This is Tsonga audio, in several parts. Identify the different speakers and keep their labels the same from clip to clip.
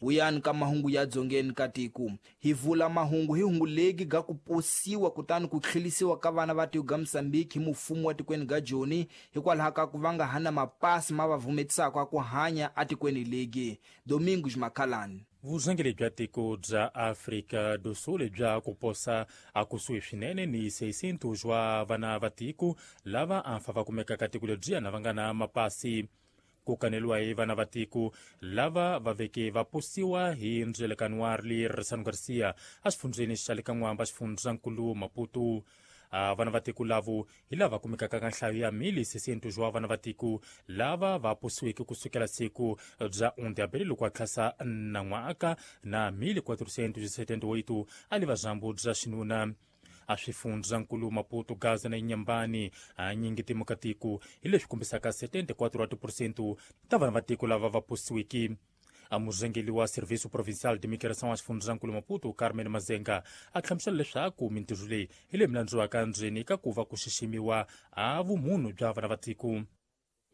Speaker 1: Vuyani ka mahungu ya dzongeni ka tiko. Hi vula mahungu hi hungu legi ga ku posiwa kutani ku tlhelisiwa ka vana va tiko ga Mozambique hi mufumo wa tikweni ga Joni hikwalaho ka ku va nga ha na mapasi ma va vumetisaka ku hanya atikweni legi. Domingos Makhalani.
Speaker 2: Vurhangeri bya tiko bya Afrika do Sul bya ku posa akusuhi swinene ni 600 wa vana va tiko lava a fa va kumekaka tiko lebyiya na va nga na mapasi. Ku kaneliwa hi vana va tiko lava va veke va posiwa hi ndzwelekano wa Rlisano Garcia exifundzheni xa le ka N'wamba, xifundzankulu Maputo. Vana va tiko lavo hi lava kumekaka ka nhlayo ya 1600 wa vana va tiko lava va posiweke kusukela siku bya 1 de abril loko a tlhasa nan'waka na 1478 a li vazambu bya xinuna. A swifundzankulu Maputo, Gaza na Inhambane hanyingi timukatiko hi leswi kombisaka 74 wa tiphurosente ta vana va tiko lava va posiweke. A murhangeri wa Serviço Provincial de Migração a xifundzankulu Maputo, Carmen Mazenga, a hlamusela leswaku mintirho leyi hi leyi milandziwaka ndzeni ka ku va ku xiximiwa a vumunhu bya vana va tiko.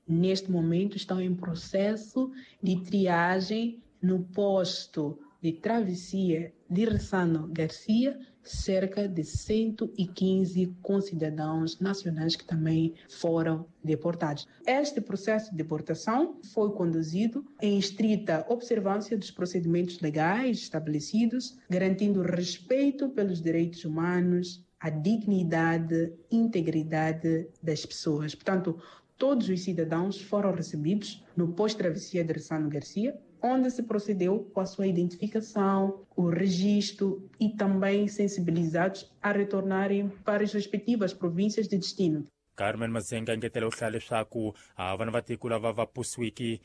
Speaker 3: Neste momento estão em processo de triagem no posto de travessia de Ressano Garcia, cerca de 115 concidadãos nacionais que também foram deportados. Este processo de deportação foi conduzido em estrita observância dos procedimentos legais estabelecidos, garantindo respeito pelos direitos humanos, a dignidade e integridade das pessoas. Portanto, todos os cidadãos foram recebidos no pós-travessia de Ressano Garcia, onde se procedeu com a sua identificação, o registro e também sensibilizados a retornarem para as respectivas províncias de destino.
Speaker 2: Carmen Mazenga engetela u hlaya leswaku vana va tiko lava va posiwiki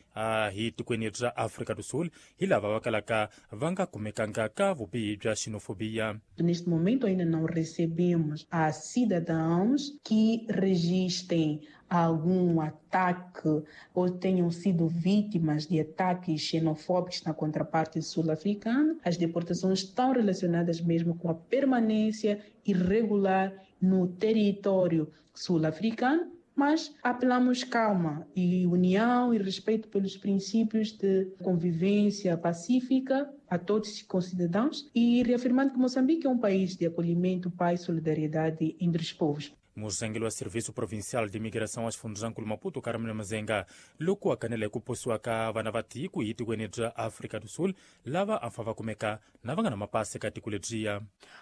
Speaker 2: hi tikweni ra Afrika do Sul hi lava va kalaka va nga kumekanga ka vubihi bya xenofobia.
Speaker 3: Neste momento ainda não recebemos a cidadãos que registrem algum ataque ou tenham sido vítimas de ataques xenofóbicos na contraparte sul-africana. As deportações estão relacionadas mesmo com a permanência irregular no território sul-africano, mas apelamos calma e união e respeito pelos princípios de convivência pacífica a todos os concidadãos e reafirmando que Moçambique é um país de acolhimento, paz e solidariedade entre os povos.
Speaker 2: Murhangeri wa Serviço Provincial de Migração a xifundzankulu Maputo, Carmen Mazenga, loko a kanela hi ku posiwa ka vana va tiko hi tikweni bya Afrika do Sul lava a fa va kumeka na va nga na mapasi ka tiko lebyiya.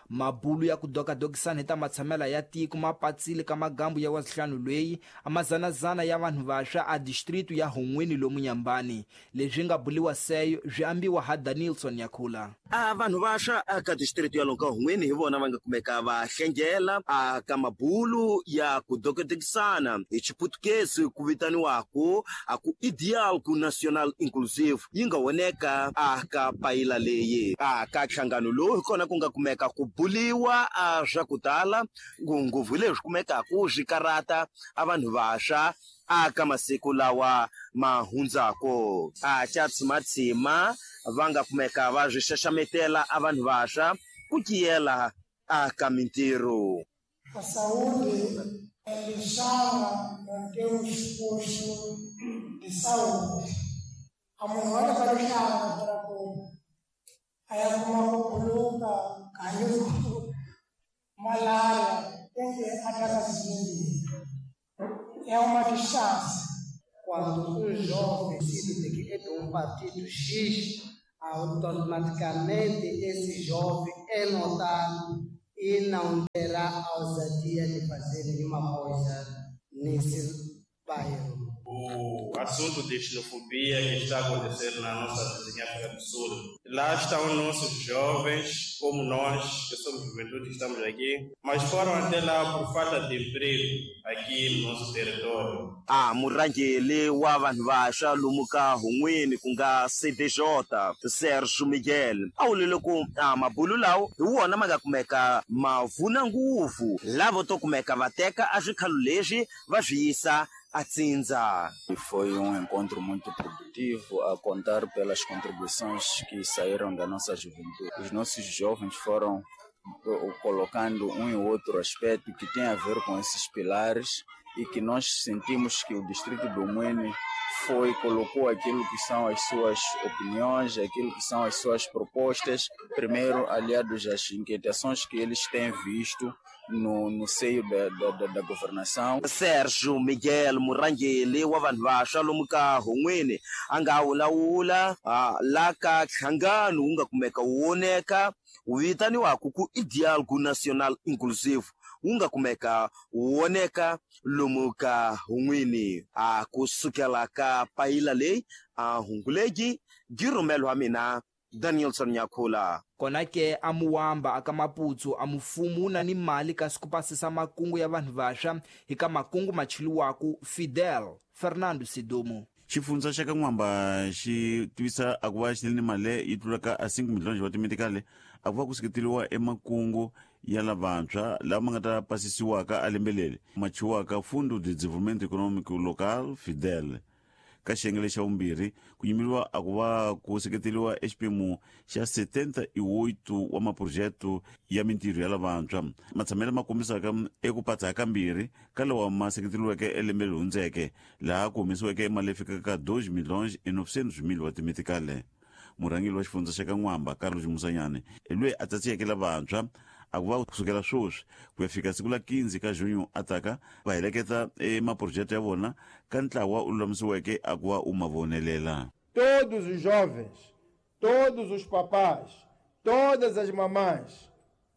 Speaker 1: Mabulu ya ku dokadokisana hi ta matshamela ya tiko ma patsile ka magambu ya wasihlanu lweyi a mazanazana ya vanhu vaxwa a distritu ya Hon'weni lomu Nyambani. Leswi nga buliwa seyo swi ambiwa ha Danilson Yakhula.
Speaker 4: A vanhu vaxwa aka distritu ya lonka Hon'weni hi vona va nga kumeka va hlengela a ka mabulu ya ku dokodekisana hi Xiputukezi ku vitaniwaku a ku i Diálogo Nacional Inclusivo yi nga voneka a ka payila leyi. A ka nhlangano lowu hi kona ku nga kumeka ku buliwa a swa ku tala ngopfu hi leswi kumekaku swi karata a vanhu vaxwa a ka masiku lawa ma hundzako. A xa tshimatsima va nga kumeka va swi xaxametela a vanhu vaxwa ku tiyela a ka mintirho.
Speaker 5: A saúde é deixá-la manter os postos de saúde. A munhu wa rixaka para ku a ya kuma ku buluka kayo malária tem que atacar é uma distância.
Speaker 6: Quando um jovem decide que é de um partido X, automaticamente esse jovem é notado e não terá a ousadia de fazer nenhuma coisa nesse bairro.
Speaker 7: O assunto de xenofobia que está acontecendo na nossa vizinha África do Sul. Lá estão nossos jovens, como nós, que somos juventude, que estamos aqui, mas foram até lá por falta de emprego aqui no nosso território.
Speaker 4: A murhangeri wa vanhu vaxwa lomu ka Hon'weni ku nga CDJ Sergio Miguel a wulile ku a mabulu lawo hi wona ma nga kumeka ma vuna ngopfu lavo to kumeka va teka a swikhalo leswi va swi yisa a tsindza.
Speaker 8: Foi um encontro muito produtivo, a contar pelas contribuições que saíram da nossa juventude. Os nossos jovens foram colocando um e outro aspecto que tem a ver com esses pilares e que nós sentimos que o distrito do Muene foi, colocou aquilo que são as suas opiniões, aquilo que são as suas propostas, primeiro aliados às inquietações que eles têm visto no seio da governação.
Speaker 4: Sérgio Miguel murhangeri wa vanhu vantshwa lomu ka Hungwini a nga vulavula la ka nhlangano wu nga kumeka wu voneka wu vitaniwaku ku i Dialogue National Inclusive wu nga kumeka wu voneka lomu ka Hungwini. A kusukela ka payila leyi a hunguleki byi rhumeliwa mina Danielson Nyakhula.
Speaker 1: Kona ke a Muwamba aka Maputsu a mufumu wu na ni mali kasi ku pasisa makungu ya vanhu vantshwa hi ka makungu machiliwaku Fidel Fernando Sidumo.
Speaker 9: Xifundza xa ka N'wamba xi tivisa a ku va xi ni mali yi tlulaka a 5 miliyoni wa timetikale a ku va ku seketeliwa emakungu ya lavantshwa lama ma nga ta pasisiwaka a lembe leri machiwaka Fundo de Desenvolvimento Econômico Local Fidel. Ka xiyenge lexa vumbirhi ku yimeriwa a ku va ku seketeliwa exiphemu xa 78 wa maphurojete ya mintirho ya lavantshwa matshamelo ma kombisaka eku patsa kambirhi ka lawa ma seketeriweke elembe leri hundzeke laha ku humesiweke mali leyi fikaka ka 2 milhões e 900 mil wa timetikale. Murhangeri wa xifundza xa ka N'wamba Carlos Musanyane hi loyi a tsatsiyeke lavantshwa a ku va kusukela sweswi ku ya fika siku la 15 ka junho a taka va heleketa emaphurojete ya vona ka ntlawa u lulamisiweke a ku va u ma vonelela.
Speaker 10: Todos os jovens, todos os papás, todas as mamães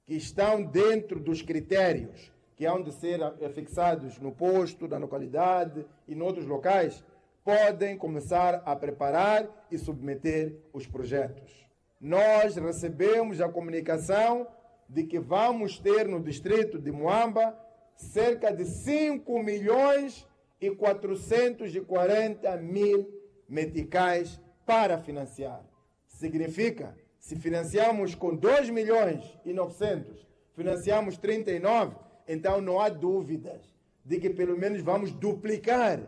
Speaker 10: que estão dentro dos critérios que hão de ser fixados no posto, na localidade e noutros locais, podem começar a preparar e submeter os projetos. Nós recebemos a comunicação de que vamos ter no distrito de Moamba cerca de 5 milhões e 440 mil meticais para financiar. Significa, se financiamos com 2 milhões e 900, financiamos 39, então não há dúvidas de que pelo menos vamos duplicar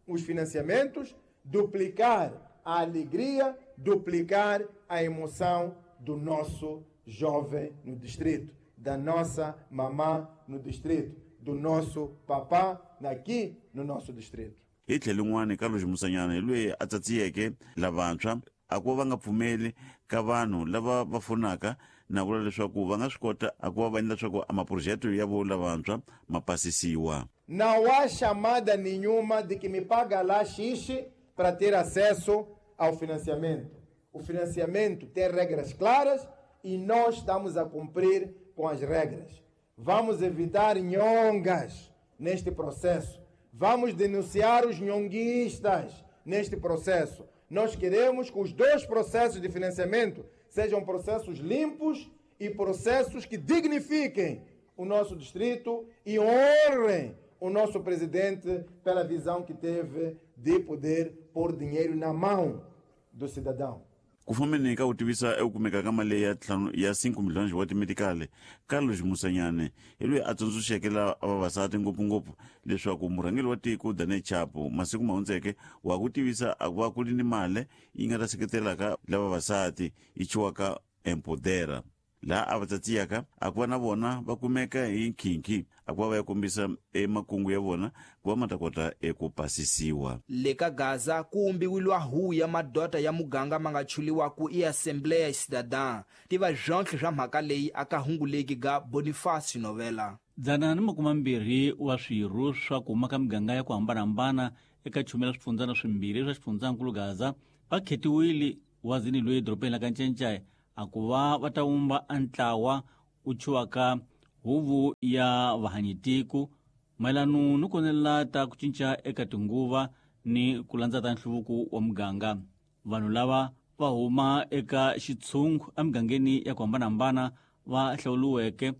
Speaker 10: os financiamentos, duplicar a alegria, duplicar a emoção do nosso jovem no distrito, da nossa mamã no distrito, do nosso papá aqui no nosso distrito.
Speaker 9: Hi tlhelo rin'wana Carlos Musanyana hi loyi a tsatsiyeke lavantshwa a ku va nga pfumeli ka vanhu lava va fonaka na vula leswaku va nga swi kota a ku va va endla leswaku a maphurojete ya vo lavantshwa ma pasisiwa.
Speaker 10: Não há chamada nenhuma de que me paga lá X para ter acesso ao financiamento. O financiamento tem regras claras e nós estamos a cumprir com as regras. Vamos evitar nhongas neste processo. Vamos denunciar os nhonguistas neste processo. Nós queremos que os dois processos de financiamento sejam processos limpos e processos que dignifiquem o nosso distrito e honrem o nosso presidente pela visão que teve de poder pôr dinheiro na mão do cidadão.
Speaker 9: Ku fambeni ka ku tivisa eku kumeka ka mali ya ya 5 milhões wa timetikale Carlos Musanyane hi loyi a tsundzuxeke la vavasati ngopfungopfu leswaku murhangeri wa tiko Daniel Chapo masiku ma hundzeke wa ku tivisa a ku va ku ri ni mali yi nga ta seketelaka la vavasati yi chiwaka Empodera laha a va tsatsiyaka a ku va na vona va kumeka hi nkhinkhi a ku va va ya kombisa emakungu ya vona ku va ma ta kota eku pasisiwa.
Speaker 1: Le ka Gaza ku umbiwilwa huwu ya madota ya muganga ma nga chuliwaku i Assembleia Cidadã. Tiva zvonhle swa mhaka leyi aka hunguleki ga Boniface Novela.
Speaker 11: 120 wa swirho swa ku huma ka miganga ya ku hambanahambana eka chumela swifundzana swimbirhi swa xifundzankulu Gaza va khetiwile wazini loyi edorobeni la ka Ncencai a ku va va ta wumba antlawa u chiwaka huvo ya vahanyitiko mayelano ni konelela ta ku cinca eka tinguva ni ku landza ta nhluvuko wa muganga. Vanhu lava va huma eka xitshungu emigangeni ya ku hambanahambana va hlawuriweke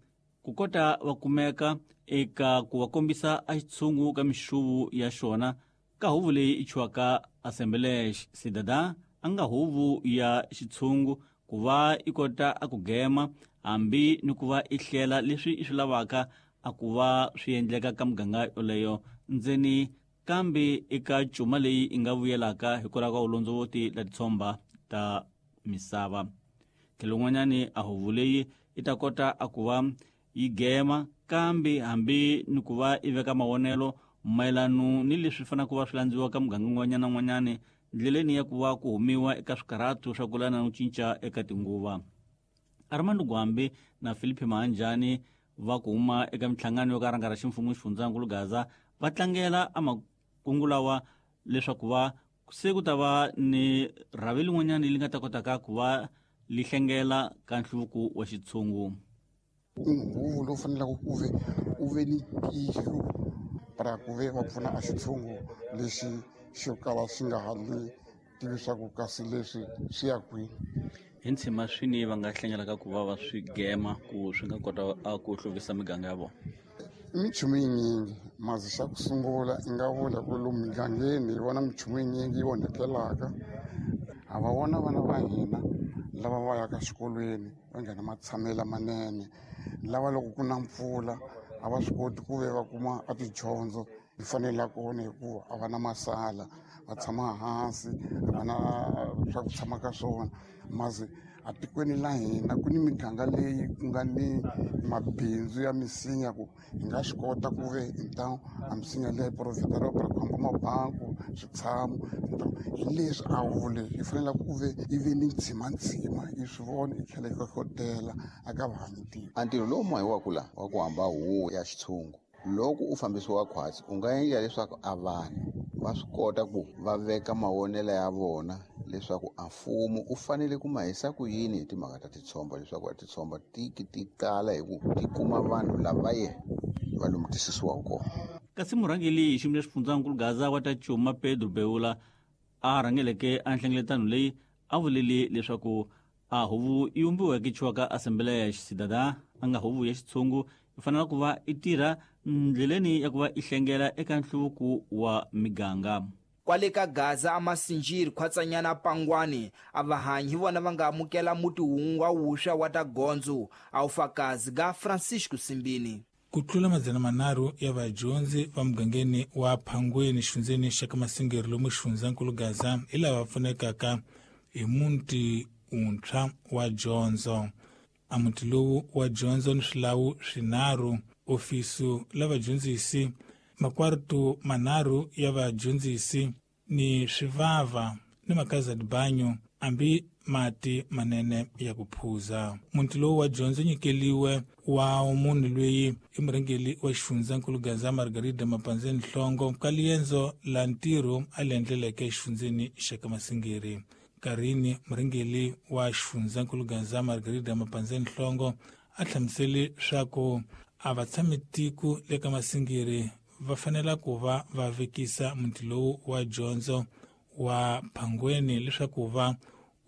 Speaker 11: ku kota va kumeka eka ku va kombisa a xitshungu ka mixuvu ya xona ka huvo leyi i chiwaka Assembleia Cidadã a nga huvo ya xitshungu ku va i kota a ku gema hambi ni ku va i hlela leswi i swi lavaka a ku va swi endleka ka muganga yoleyo ndzeni kambe eka cuma leyi i nga vuyelaka hikwalaho ka vulondzovoti la titshomba ta misava. Tlhelo n'wanyani a huvo leyi i ta kota a ku va yi gema kambe hambi ni ku va i veka mavonelo mayelano ni leswi fanaka ku va swi landziwa ka muganga n'wanyana n'wanyani ndleleni ya ku va ku humiwa eka swikarhatu swa ku lana no cinca eka tinguva. Armando Gwambi na Filipe Mahanjani va ku huma eka minhlangano yo ka rhanga ra ximfumo xifundzankulu Gaza va tlangela amakungu lawa leswaku va se ku ta va ni rhavi lin'wanyana li nga ta kotaka ku va li hlengela ka nhluvuko wa xitshungu.
Speaker 12: Huvo lowu faneleke ku ve u ve ni tihlo para ku ve va pfuna a xitshungu lexi xo kala xi nga ha li tivi swa ku kasi leswi swi ya kwini.
Speaker 11: Hi ntshima swini va nga hlengelaka ku va va swi gema ku swi nga kota a ku hluvukisa miganga ya vona.
Speaker 12: I minchumu yinyingi mazi xa ku sungula i nga vula ku lomu migangeni hi vona minchumu yinyingi yi onhekelaka. A va vona vana va hina lava va yaka xikolweni va nghena matshamelo lamanene, lava loko ku na mpfula a va swi koti ku ve va kuma a tidyondzo hi fanele kona hikuva a va na masala, va tshama hansi, a va na swa ku tshama ka swona. Mazi a tikweni la hina ku ni miganga leyi ku nga ni mabindzu ya misinya ku hi nga swi kota ku ve então a misinya leyi provhideriwa para ku hamba mabanku switshamo. Hi leswi a vule yi fanele ku ve yi ve ni ntsimantsima yi swi vona yi tlhela yi hlohlotela aka vahanyi tiko.
Speaker 13: A ntirho lowu mahiwaku la wa ku hamba huvo ya xitshungu loko u fambisiwa khwatsi u nga endla leswaku a vanhu va swi kota ku va veka mavonelo ya vona leswaku a mfumo u fanele ku ma hisa ku yini hi timhaka ta titshomba, leswaku a titshomba tiki ti kala hi ku ti kuma vanhu lava ye va lomu tisisiwaka kona.
Speaker 11: Kasi murhangeri hi xiyimo xa xifundzankulu Gaza wa ta Cuma Pedro Beula a rhangeleke a nhlengeletano leyi a vulele leswaku a huvo yi vumbiweke chiwaka Assembleia ya Cidadã a nga huvo ya xitshungu yi fanele ku va i tirha ndleleni ya ku va i hlengela eka nhluvuko wa miganga.
Speaker 1: Kwale ka Gaza a Masinjiri khwatsanyana Pangwani a vahanyi hi vona va nga amukela muti wun'we wa wuswa wa ta gondzo a ufakazi ga Francisco Simbini.
Speaker 14: Ku tlula 300 ya vadyondzi va mugangeni wa Phangweni xifundzeni xa ka Masingeri lomu xifundzankulu Gaza hi lava pfunekaka hi muti wuntshwa wa dyondzo. A muti lowu wa dyondzo ni swilawu swinharhu, ofisu la vadyondzisi, makwartu manharhu ya vadyondzisi ni swivava ni makaza dibanyo ambi mati manene ya ku phuza. Muti lowu wa dyondzo nyikeliwe wa munhu loyi i murhangeri wa xifundzankulu Gaza Margarida Mapanzeni Nhlongo ka liendzo la ntirho a li endleleke xifundzeni xa ka Masingeri. Karini murhangeri wa xifundzankulu Gaza Margarida Mapanzeni Nhlongo a hlamusele swa ku a va tshami tiko le ka Masingeri va fanela ku va va vekisa muti lowu wa dyondzo wa Phangweni leswaku va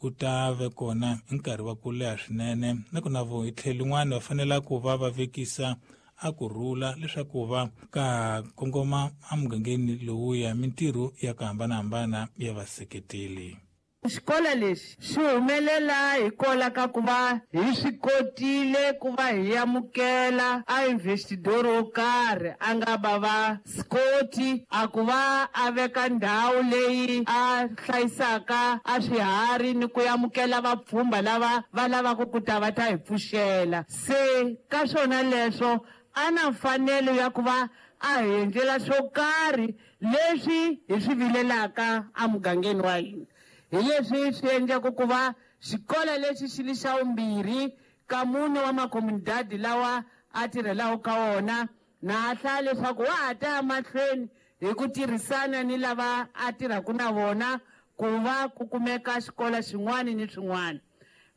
Speaker 14: u ta ve kona hi nkarhi wa ku leha swinene, nakona vo hi tlhelo lin'wana va fanela ku va va vekisa a ku rhula leswaku va ka kongoma emugangeni lowuya mintirho ya ku hambanahambana ya vaseketeli.
Speaker 15: Xikolo lexi xi humelela hikola ka ku va hi swi kotile ku va hi amukela a investidor wo karhi a nga va va Scott a ku va a veka ndhawu leyi a hlayisaka a swiharhi ni ku amukela vapfhumba lava va lavaka ku ta va ta hi pfuxela. Se ka swona leswo a na mfanelo ya ku va a hi endlela swo karhi leswi hi swi vilelaka emugangeni wa hina. Hi leswi swi endlaka ku va xikolo lexi xi li xa vumbirhi ka mune wa makomunidadi lawa a tirhelaku ka wona, na a hlaya leswaku wa ha ta ya mahlweni hi ku tirhisana ni lava a tirhaka na vona ku va ku kumeka xikolo xin'wana ni swin'wana.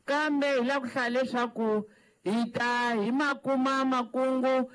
Speaker 15: Kambe hi lava ku hlaya leswaku hi ta hi makuma makungu